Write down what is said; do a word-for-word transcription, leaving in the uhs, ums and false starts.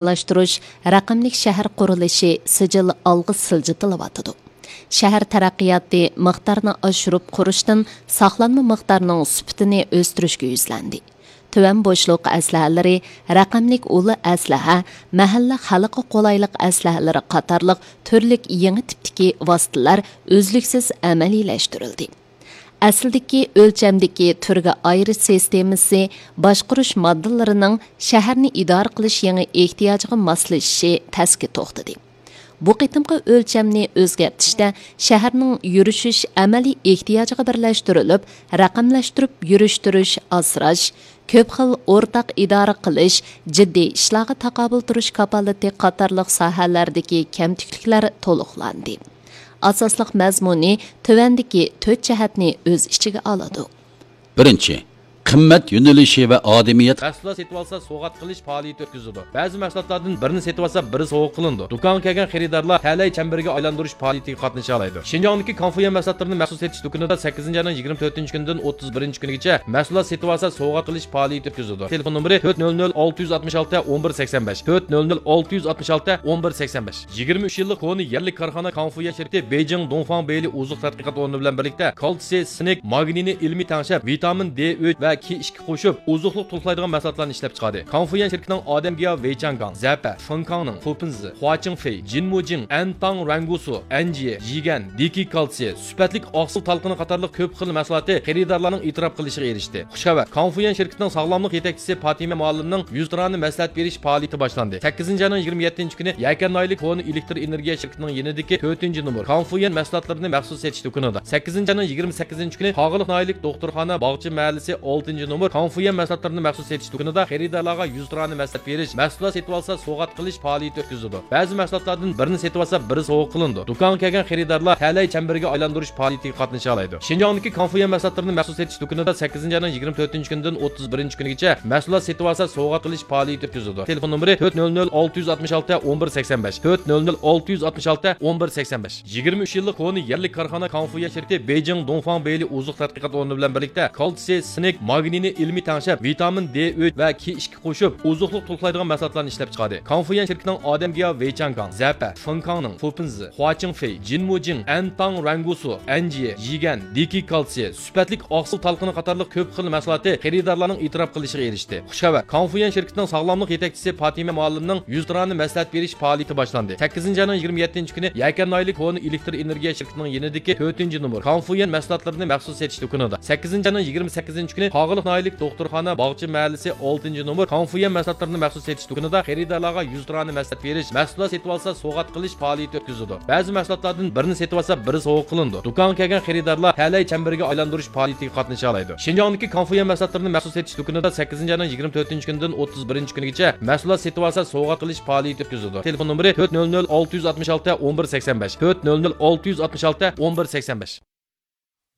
ئورۇنلاشتۇرۇش، رەقەملىك شەھەر قۇرۇلۇشى سىجىل ئالغا سىلجىتىلىۋاتىدۇ. شەھەر تەرەققىياتى مىقدارنى ئاشۇرۇپ قۇرۇشتىن ساقلانما مىقدارنىڭ سۈپىتىنى ئۆستۈرۈشكە يۈزلەندى. تۆۋەن بوشلۇق ئەسلىھەلىرى، رەقەملىك ئۇل ئەسلىھە، مەھەللە خەلققە قولايلىق ئەسلىھەلىرى قاتارلىق تۈرلۈك يېڭى تىپتىكى ۋاسىتىلەر ئۈزلۈكسىز ئەمەلىيلەشتۈرۈلدى. ئەسلىدىكى ئۆلچەمدىكى تۈرگە ئايرىش سىستېمىسى باشقۇرۇش ماددىلىرىنىڭ شەھەرنى ئىدارە قىلىش يېڭى ئېھتىياجىغا ماسلىشىشى تەسكە توختىدى. بۇ قېتىمقى ئۆلچەمنى ئۆزگەرتىشتە شەھەرنىڭ يۈرۈشۈش ئەمەلىي ئېھتىياجىغا بىرلەشتۈرۈلۈپ، رەقەملەشتۈرۈپ يۈرۈشتۈرۈش، ئاسراش، كۆپ خىل ئورتاق ئىدارە قىلىش، جىددىي ئىشلارغا تاقابىل تۇرۇش كاپالىتى قاتارلىق ساھەلەردىكى كەمتۈكلۈكلەر تولۇقلاندى. ئاساسلىق مەزمۇنى تۆۋەندىكى تۆت جەھەتنى ئۆز ئىچىگە ئالىدۇ. بىرىنچى، قىممەت يۆنىلىشى ۋە ئادىمىيەت. مەھسۇلات سېتىۋالسا سوۋغات قىلىش پائالىيىتى ئۆتكۈزىدۇ. بەزى مەھسۇلاتلاردىن بىرىنى سېتىۋالسا، بىرى سوۋغا قىلىنىدۇ. دۇكانغا كەلگەن خېرىدارلار تەلەي چەمبىرىگە ئايلاندۇرۇش پائالىيىتىگە قاتنىشالايدۇ. شىنجاڭدىكى كانفۇيۈەن مەھسۇلاتلىرىنى مەخسۇس سېتىش دۇكىنىدا سەككىزىنچى ئاينىڭ يىگىرمە تۆتىنچى كۈنىدىن ئوتتۇز بىرىنچى كۈنىگىچە مەھسۇلات سېتىۋالسا سوۋغا قىلىش پائالىيىتى ئۆتكۈزىدۇ. تېلېفون نومۇرى تۆت نۆل نۆل ئالتە يۈز ئاتمىش ئالتە ئون بىر سەكسەن بەش، تۆت نۆل نۆل ئالتە يۈز ئاتمىش ئالتە ئون بىر سەكسەن بەش. يىگىرمە ئۈچ يىللىق كونا يەرلىك كارخانا كانفۇيۈەن شىركىتى بېيجىڭ دۇڭفاڭ بېيلى ئوزۇق تەتقىقات ئورنى بىلەن بىرلىكتە كالتسىي، سىنك، ماگنىينى ئىلمىي تەڭشەپ، ۋىتامىن دې ئۈچ ۋە كې ئىككى قوشۇپ، ئوزۇقلۇق تولۇقلايدىغان مەھسۇلاتلارنى ئىشلەپچىقاردى. كانفۇيۈەن شىركىتىنىڭ ئادەم گىياھ، ۋېيچاڭگاڭ، زەپە، فېنكاڭنىڭ، فۇپىنزى، خۇاچىڭفېي، جىنمۇجىڭ، ئەنتاڭ رەنگۇسۇ، ئەنجىيە، يىگەن، دېكى كالتسىي، سۈپەتلىك ئاقسىل تالقىنى قاتارلىق كۆپ خىل مەھسۇلاتى خېرىدارلارنىڭ ئېتىراپ قىلىشىغا ئېرىشتى. خۇش خەۋەر! كانفۇيۈەن شىركىتىنىڭ ساغلاملىق يېتەكچىسى پاتىمە مۇئەللىمنىڭ يۈزتۇرانە مەسلىھەت بېرىش پائالىيىتى باشلاندى. سەككىزىنچى ئاينىڭ يىگىرمە يەتتىنچى كۈنى يەكەن ناھىيەلىك كونا ئېلېكتر ئېنېرگىيە شىركىتىنىڭ يېنىدىكى تۆتىنچى نومۇر كانفۇيۈەن مەھسۇلاتلىرىنى مەخسۇس سېتىش دۇكىنىدا، سەككىزىنچى ئاينىڭ يىگىرمە سەككىزىنچى كۈنى قاغىلىق ناھىيەلىك دوختۇرخانا باغچە مەھەللىسى ئالتىنچى نومۇر كانفۇيۈەن مەھسۇلاتلىرىنى مەخسۇس سېتىش دۇكىنىدا خېرىدارلارغا يۈزتۇرانە مەسلىھەت بېرىش، مەھسۇلات سېتىۋالسا سوۋغات قىلىش پائالىيىتى ئۆتكۈزىدۇ. بەزى مەھسۇلاتلاردىن بىرنى سېتىۋالسا، بىرى سوۋغا قىلىنىدۇ. دۇكانغا كەلگەن خېرىدارلار تەلەي چەمبىرىگە ئايلاندۇرۇش پائالىيىتىگە قاتنىشالايدۇ. شىنجاڭدىكى كانفۇيۈەن مەھسۇلاتلىرىنى مەخسۇس سېتىش دۇكىنىدا سەككىزىنچى ئاينىڭ يىگىرمە تۆتىنچى كۈنىدىن ئوتتۇز بىرىنچى كۈنىگىچە مەھسۇلات سېتىۋالسا سوۋغات قىلىش پائالىيىتى ئۆتكۈزىدۇ. تېلېفون نومۇرى تۆت نۆل نۆل ئالتە يۈز ئاتمىش ئالتە ئون بىر سەكسەن بەش، تۆت نۆل نۆل ئالتە يۈز ئاتمىش ئالتە ئون بىر سەكسەن بەش. يىگىرمە ئۈچ يىللىق كونا يەرلىك كارخانا كانفۇيۈەن شىركىتى بېيجىڭ دۇڭفاڭ بېيلى ئوزۇق تەتقىقات ئورنى بىلەن بىرلىكتە كالتسىي، سىنك، ماگنىينى ئىلمىي تەڭشەپ، ۋىتامىن دې ئۈچ ۋە كې ئىككى قوشۇپ، ئوزۇقلۇق تولۇقلايدىغان مەھسۇلاتلارنى ئىشلەپچىقاردى. كانفۇيۈەن شىركىتىنىڭ ئادەم گىياھ، ۋېيچاڭگاڭ، زەپە، فېنكاڭنىڭ، فۇپىنزى، خۇاچىڭفېي، جىنمۇجىڭ، ئەنتاڭ رەنگۇسۇ، ئەنجىيە، يىگەن، دېكى كالتسىي، سۈپەتلىك ئاقسىل تالقىنى قاتارلىق كۆپ خىل مەھسۇلاتى خېرىدارلارنىڭ ئېتىراپ قىلىشىغا ئېرىشتى. خۇش خەۋەر! كانفۇيۈەن شىركىتىنىڭ ساغلاملىق يېتەكچىسى پاتىمە مۇئەللىمنىڭ يۈزتۇرانە مەسلىھەت بېرىش پائالىيىتى باشلاندى. سەككىزىنچى ئاينىڭ يىگىرمە يەتتىنچى كۈنى يەكەن ناھىيەلىك كونا ئېلېكتر ئېنېرگىيە شىركىتىنىڭ يېنىدىكى تۆتىنچى نومۇر كانفۇيۈەن مەھسۇلاتلىرىنى مەخسۇس سېتىش دۇكىنىدا، سەككىزىنچى ئاينىڭ يىگىرمە سەككىزىنچى كۈنى قاغىلىق ناھىيەلىك دوختۇرخانا باغچە مەھەللىسى ئالتىنچى نومۇر كانفۇيۈەن مەھسۇلاتلىرىنى مەخسۇس سېتىش دۇكىنىدا خېرىدارلارغا يۈزتۇرانە مەسلىھەت بېرىش، مەھسۇلات سېتىۋالسا سوۋغات قىلىش پائالىيىتى ئۆتكۈزىدۇ. بەزى مەھسۇلاتلاردىن بىرنى سېتىۋالسا، بىرى سوۋغا قىلىنىدۇ. دۇكانغا كەلگەن خېرىدارلار تەلەي چەمبىرىگە ئايلاندۇرۇش پائالىيىتىگە قاتنىشالايدۇ. شىنجاڭدىكى كانفۇيۈەن مەھسۇلاتلىرىنى مەخسۇس سېتىش دۇكىنىدا سەككىزىنچى ئاينىڭ يىگىرمە تۆتىنچى كۈنىدىن ئوتتۇز بىرىنچى كۈنىگىچە مەھسۇلات سېتىۋالسا سوۋغا قىلىش پائالىيىتى ئۆتكۈزىدۇ. تېلېفون نومۇرى تۆت نۆل نۆل ئالتە يۈز ئاتمىش ئالتە ئون بىر سەكسەن بەش، تۆت نۆل نۆل ئالتە يۈز ئاتمىش ئالتە ئون بىر سەكسەن بەش.